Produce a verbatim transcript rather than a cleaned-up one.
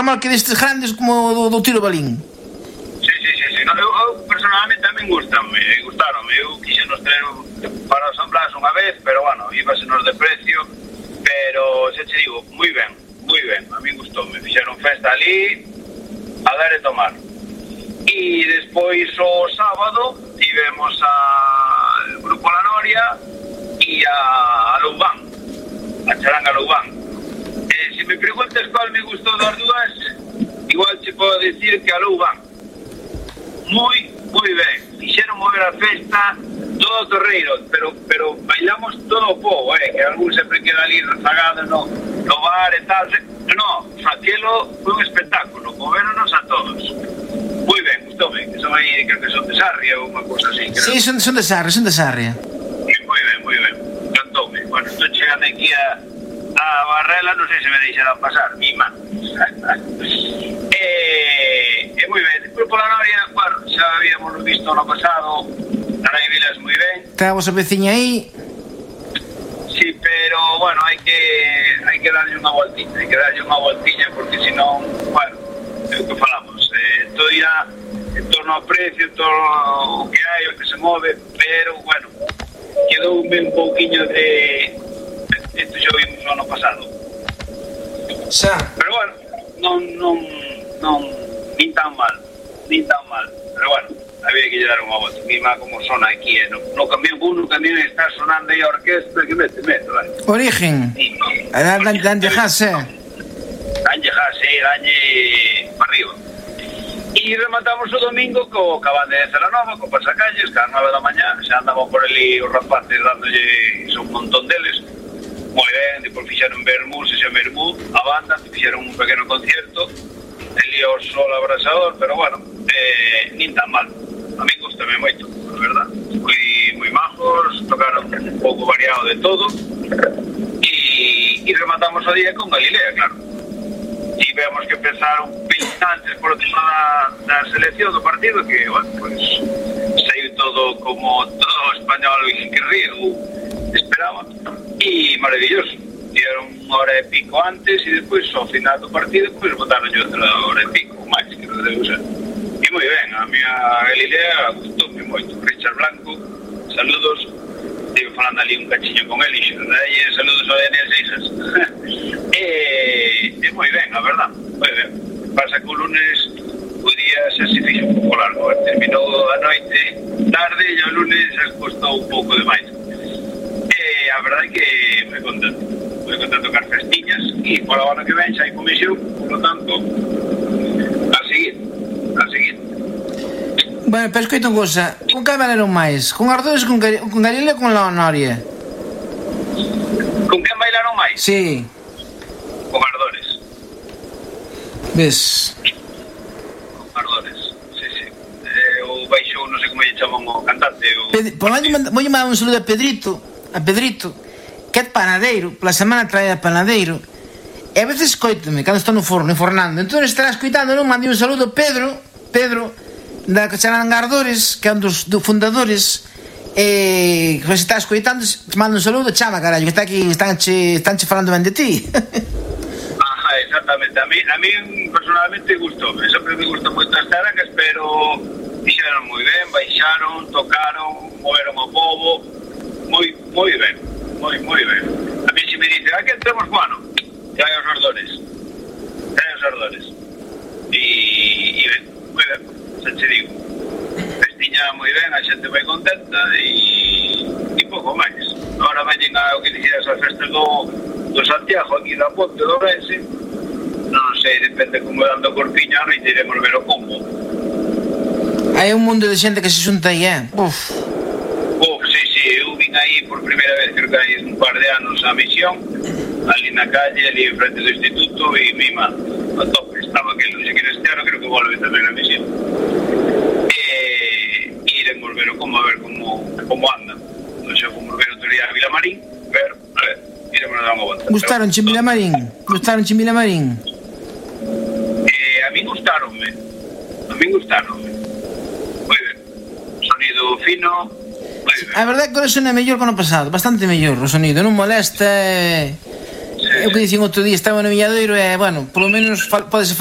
remolque destes grandes como do, do tiro balín. Sí, sí, sí, sí. No, eu, eu personalmente tamén gustanme, gustaronme. Eu quixen nos traer para os San Blas unha vez, pero bueno, íbasenos de precio, pero xa te digo, moi ben, moi ben, a mí gustoume. Fixeron festa ali, a dar e tomar. E despois o sábado tivemos a el Grupo La Noria e a, a Loubán, a Charanga Loubán. Eh, se me preguntas cual me gustou das dúas, igual te podo decir que a Loubán. Moi, moi ben. Fixeron mover a festa todo o torreiro, pero pero bailamos todo o povo, eh, que algún sempre queda ali rezagado no, no bar e tal. No, aquilo foi un espectáculo, moveronos a todos. Moi ben, gustoume, que son aí, creo que son de Sarria ou unha cosa así. Sí, son, son de Sarria, son de Sarria. Moi ben, moi ben, cantoume. Bueno, estou chegando aquí a, a Barrela, non sei se me deixarán pasar, mi man. e, e moi ben, o Grupo La Noria, bueno, xa habíamos visto no pasado, Narai Vilas moi ben. Está a vosa veciña aí? Sí, pero, bueno, hai que hai que darlle unha voltiña, hai que darlle unha voltiña, porque senón, bueno, é o que falamos, eh, todo irá en torno ao precio, todo o que hai, o que se move, pero, bueno, quedoume un pouquiño de... Isto xa vimos no ano pasado. Xa. Pero, bueno, non, non, non, nin tan mal, nin tan mal, pero, bueno, había que lle dar unha volta. Mima como sona aquí, eh, no, no camión, uno camión está sonando aí a orquesta, que mete, mete, vale. Origen. Sí. Dan de jase. Danlle jase, danlle para arriba. E rematamos o domingo co cabal de Celanova, co Pasacalles, que a nove da mañá, xa andaban por ali os rapaces dándolle un montón deles. Moi ben, depois fixeron Bermú, se xa Bermú, a banda, fixeron un pequeno concierto, ali ao sol abrasador, pero bueno, eh, nin tan mal. A mí gustame moito, a verdad. Moi, moi majos, tocaron un pouco variado de todo, e, e rematamos o día con Galilea, claro. E vemos que empezaron veinte antes por o tema da, da selección do partido, que, bueno, pues, saiu todo como todo o español que río esperaba, e maravilloso. Dieron unha hora e pico antes, e despois, ao final do partido, pues, botaron yo outra hora e pico, máis, que non debe ser. E moi ben, a miña Galilea gustoume moito. Richard Blanco, saludos, estive falando ali un cachiño con ele, e saludos ao D N Seixas. e, e moi ben, a verdad, moi ben. Pasa que o lunes o día xa se fixo un pouco largo, terminou a noite tarde e o lunes xa costou un pouco de máis. E a verdade é que moi contento, moi contento con as festiñas, e por a ano que ven xa hai comisión, por lo tanto, a seguir, a seguir. Bueno, pero escoita unha cosa, con que bailaron máis? Con Ardores, con, Gar con Galilea ou con La Noria? Con quen bailaron máis? Sí. Con Ardores. Ves? Con Ardores, sí, sí. Eh, o baixou, non sei como lle chaman o cantante. O... Ped Por onde vou mandar un saludo a Pedrito, a Pedrito, que é panadeiro, pola semana trae a panadeiro. E a veces escoitame, cando estou no forno, enfornando. Entón estará escoitando, non? Mandei un saludo a Pedro, Pedro, da Charanga Ardores, que é un dos, dos fundadores, e que se está escoitando, te mando un saludo, chama, carallo, que está aquí, están che, están che falando ben de ti. Ajá, exactamente. A mí, a mí personalmente gustou, sempre me gustan moito as charangas, pero fixeron moi ben, baixaron, tocaron, moveron o povo, moi, moi ben, moi, moi ben. A mí se me dice, aquí entremos, bueno, que hai os Ardores, que hai os Ardores. E, e ben, moi ben. Se te digo, festiña moi ben, a xente moi contenta, e, e pouco máis. Agora veñen a, o que dixeras, as festas do, do Santiago, aquí da Ponte do Ourense, non sei, depende como dando corpiña, non iremos ver o combo. Hai un mundo de xente que se xunta aí, eh? Uf. Uf, sí, sí, eu vin aí por primeira vez, creo que hai un par de anos a misión, ali na calle, ali en frente do instituto, e mima, a tope, estaba aquel, non sei que neste ano creo que volve tamén a misión. Iremos ver como, a ver como, como anda. Non sei como ver outro día a Vilamarín, pero, a ver, iremos a dar unha volta. Gustaron che Vilamarín? Gustaron che Vilamarín? Eh, a min gustaronme, a min gustaronme. Moi ben, sonido fino, moi ben. A verdade é que o sonido é mellor que o ano pasado, bastante mellor o sonido, non molesta. É o que dicen outro día, estaba no Villadoiro e, bueno, polo menos podes falar